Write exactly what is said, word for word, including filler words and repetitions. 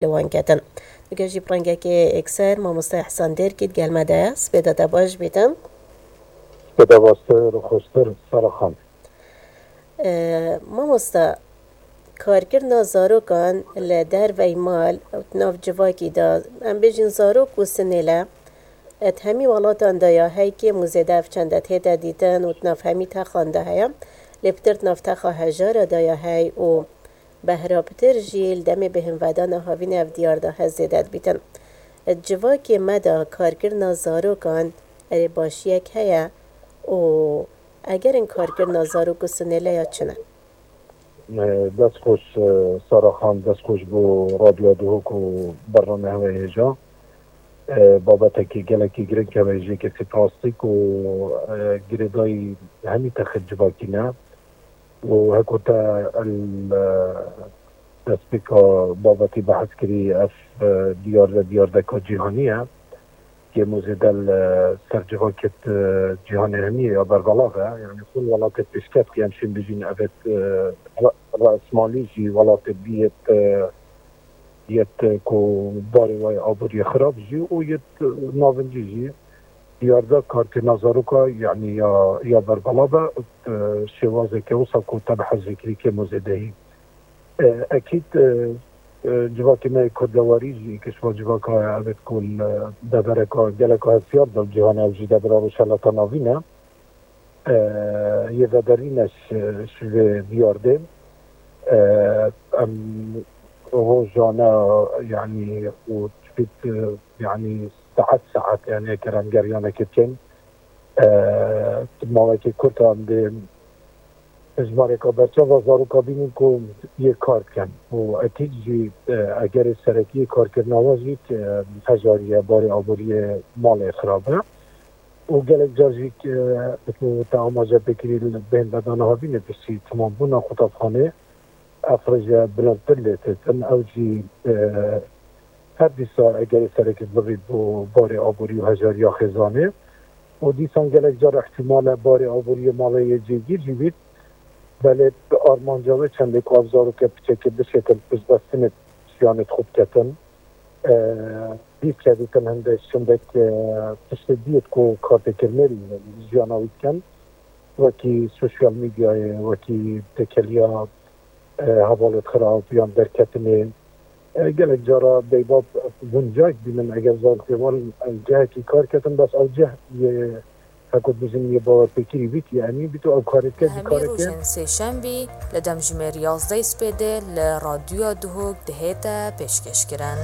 li wan ketin. Digel jî bi rengekê êkser mamoste Ehsan Dêrkî digel me de ye. Spêda te baş bîtin. Spêda baştir û xweştir Sara Xan. E, mamoste, karkirina zarokan li dervey mal û di nav civakî de, em bêjin zarok û sinêle, di hemî welatan de ya hey, kêm û zêde ev çende tête dîtin û di nav hemî texan de heye. Lê pitir di nav texa hejara de ya hey û behra pitir jî li demê bêhnvedana havînê ev diyar de he zêde dibîtin. Di civakê me de karkirina zarokan erê başiyek heye û egerên karkirina zarok û sinêle ya çi ne? E, dest xweş, e, Sara Xan, dest xweş bo Radyoya Duhok û bernamehê we hêja. E, babetekî gelekî giring hebe ji yekê sî plastîk û, e, girêdayî hemî texê civakî ne. Û heko te el, e, destpêka babetî behs kirî, ev, e, diyar ve diyardeka cîhanî ye. Kêm û zêde li ser civakê, e, cîhanê hemî ya berbelav e. Yanî xwin welatê pêşkevtî em şên bijîn evêt, e, ra-, rasmalî jî welatê bîyêt, e, yêt, e, ku barê wê aboriyê xirab jî û yêt, e, navincî jî diyarda karkirina zaroka, yanî ya, ya berbelav e, e, şêwazeke wisa ku te behs jê kirî kêm û zêdehî. E, ekîd, e, e, civakê me yê kurdewarî jî kişva civaka evêt ku li devereka geleka hestiyar de li cîhanê ew jî devera Rojhilata Navîn e. E, yê vederîne ji, ji vê diyardê. E, em rojane, yanî û çipît, e, yanî saet saet, yanî eger em geryanekê bikin, e, mawekê kurt em dê hejmareka berçav a zaroka bînin ku yê kar dikin û ekîd jî, e, egerê serekî yê karkirina wan jî, e, hejariye, barê aboriyê malê xirab e. Û gelek car jî, e, ku te amaje pê kirî li bêhnvedana havînê piştî temambûna qutabxanê, ev rêje bilindtir lê têtin. Ew jî, e, her dîsa egerê serekî bivît bo barê aborî û hejariya xêzanê. Û dîsan gelek car îhtîmal e barê aboriyê malê yê cêgîr jî bît. Belê armanca wê çendê ku ev zaroke piçekê bişêtin piştbestinê jiyanê xwe biketin. E, dît kevîtin hindek, hindek, e, tiştê diyêt ku kartêkirinê li jiyana wî dikin. Wekî sosyal medyayê, wekî têkiliya, e, hevalêt xirab yan derketinê. E, gelek cara beybab guncayek bînin eger zarokê wan, e, cihekî kar ketin, bes ew cih yê, heko dibêjin, yê bawerpêkirî bît, yê emîn bît û ew karê dike, jî hemî kareke rojên sêşembî li demjimêr yazdeh spêdê li Radyoya Duhok dihête pêşkêşkirin.